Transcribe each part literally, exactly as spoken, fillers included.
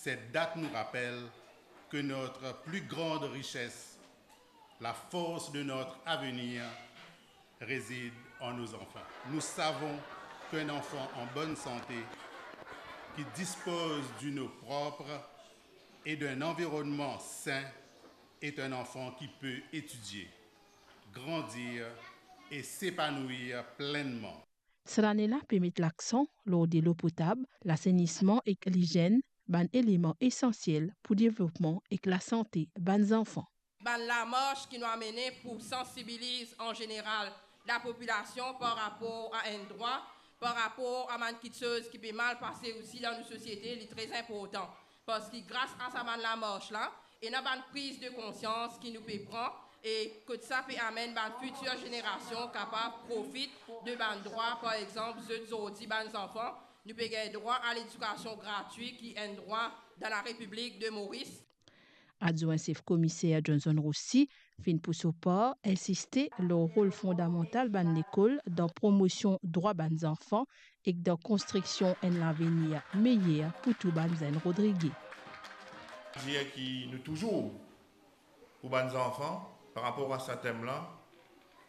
Cette date nous rappelle que notre plus grande richesse, la force de notre avenir, réside en nos enfants. Nous savons qu'un enfant en bonne santé, qui dispose d'une eau propre et d'un environnement sain, est un enfant qui peut étudier, grandir et s'épanouir pleinement. Sa lane la pe met laksan lor delo potab, lasenisman ek lizenn, bann eleman esansiel pou devlopman ek lasante bann zanfan. Bann lamars ki nou amene pou sansibiliz an zeneral lapopilasion par rapor a enn drwa, par rapor a bann kiksoz ki pe mal pase osi dan nou sosiete, li tre inportan. Parski gras a sa bann lamars la, ena bann priz de konsians ki nou pe pran e kot sa pe amenn bann fitir zenerasion kapav profit de bann drwa, par exanp, zot zordi bann zanfan, nou pe gagn drwa a ledikasion gratwi ki enn drwa dan Larepiblik de Moris. Adwin sef komiser Johnson Roussy finn pou so par insiste lor rol fondamantal bann lekol dan promosion drwa bann zanfan ek dan konstriksion enn lavenir meyer pou tou bann zenn Rodrige. Dir ki nou touzour pou bann zanfan, par rapor a sa tem la,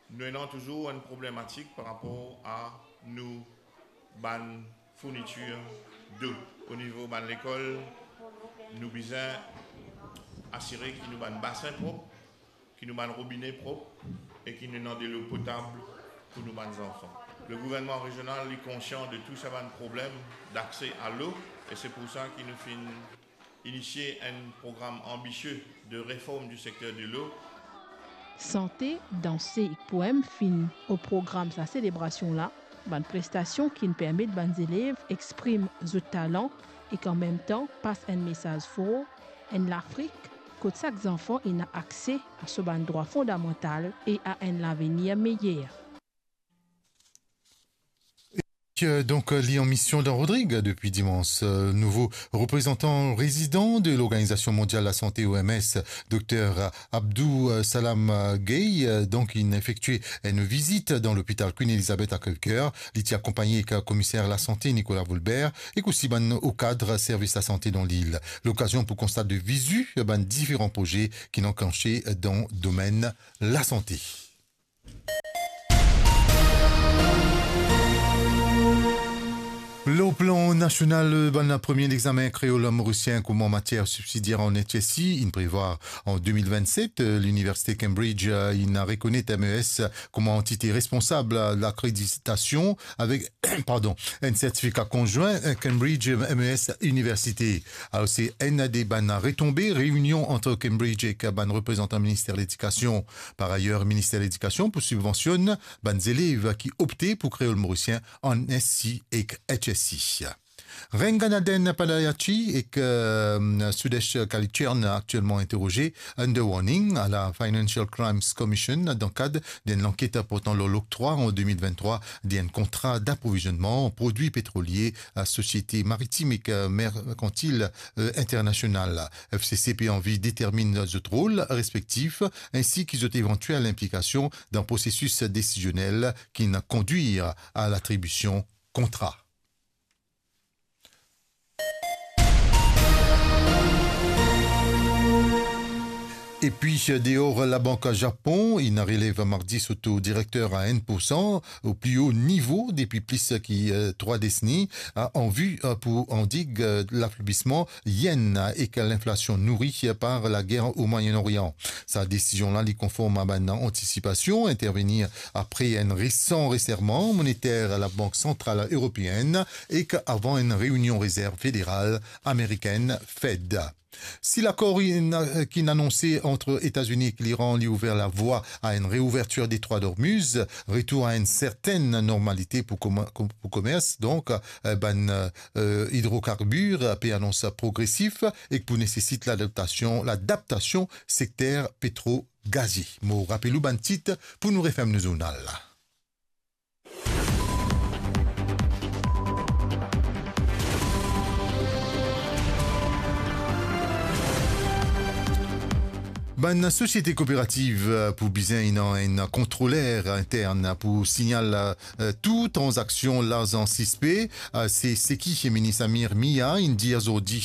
nou ena touzour enn problematik par rapor a nou bann fournitir dlo. O nivo bann lekol, nou bizin asire ki nou bann basin prop, ki nou bann robine prop e ki nou ena delo potab pou nou bann zanfan. Le gouvernman rezional, li konsian de tou sa bann problem dakse a lo, e se pou sa ki nou finn inisie enn program anbisie de reform di sekter delo. Sante, danse ek poem finn o program sa selebrasion la, bann prestasion ki'nn permet bann zelev exprim zot talan ek an mem tan pas enn mesaz for, enn Lafrik kot sak zanfan ena akse a so bann drwa fondamantal e a enn lavenir meyer. Euh, donc, euh, li an mision dan Rodrig depi dimans. Euh, nouvo reprezantan rezidan de l'Organisation Mondiale de la Santé, O M S, Dokter Abdou, euh, Salam, euh, Gueye, euh, donk, inn efektie enn vizit dan lopital Queen Elizabeth a Crèvecoeur. Li ti akonpagne ek, euh, komiser lasante Nicolas Volbert ek osi bann o kad servis lasante dan lil. Lokazion pou konstat de vizu bann diferan proze ki'nn anklanse dan domenn lasante. Lor plan nasional, bann premie lexamen kreol morisien kouma matier sibsidier an H S C inn prevwar an de mil vennset. Liniversite Cambridge, eh, inn rekonet M E S kouma antite responsab lakreditasion avek, pardon, enn sertifika konzwin, eh, Cambridge M E S Université. Alor, se enn de bann retonbe reinion ant Cambridge ek bann reprezantan Minister Ledikasion. Par ayer, Minister Ledikasion pou sibvansionn bann zelev ki opte pou kreol morisien an S C ek H S C. Renganaden Padayachee ek, euh, Sudesh Kalichern aktielman interoze under warning a la Financial Crimes Commission dan kad d'enn lanket portan lor loktrwa an de mil venntrwa d'enn kontra daprovizonnman prodwi petrolie a Sosiete Maritim ek, euh, Merkantil, euh, Internasional. F C C pe anvi determinn zot rol respektif, ensi ki zot evantiel inplikasion dan prosesis desizionel ki'nn kondwir a latribision kontra. Epi, deor, Labank Japon inn relev mardi so to direkter a enn poursan, o pli o nivo depi plis ki, eh, trwa deseni, eh, an vi, eh, pou andig, eh, lafeblisman yen ek linflasion nouri par lager o Moyen-Orient. Sa desizion la, li konform a bann antisipasion intervenir apre enn resan reserman moniter Labank Santral Eropeenn ek avan enn reinion Rezerv Federal Amerikenn, Fed. Si lakor inn, ki'nn anonse ant Etazini ek Liran li ouver lavwa a enn reouvertir Detrwa Dormuz, retour a enn sertenn normalite pou koma-, pou komers, donk, eh, bann, eh, idrokarbir pe anons progresif ek pou nesesit ladaptasion, ladaptasion sekter petro-gazie. Mo rapel ou bann tit pou nou referm nou zournal la. Bann sosiete kooperativ, eh, pou bizin ena enn kontroler intern pou signal, eh, tou tranzaksion larzan sispe, eh, se seki minis Amir Mia inn dir zordi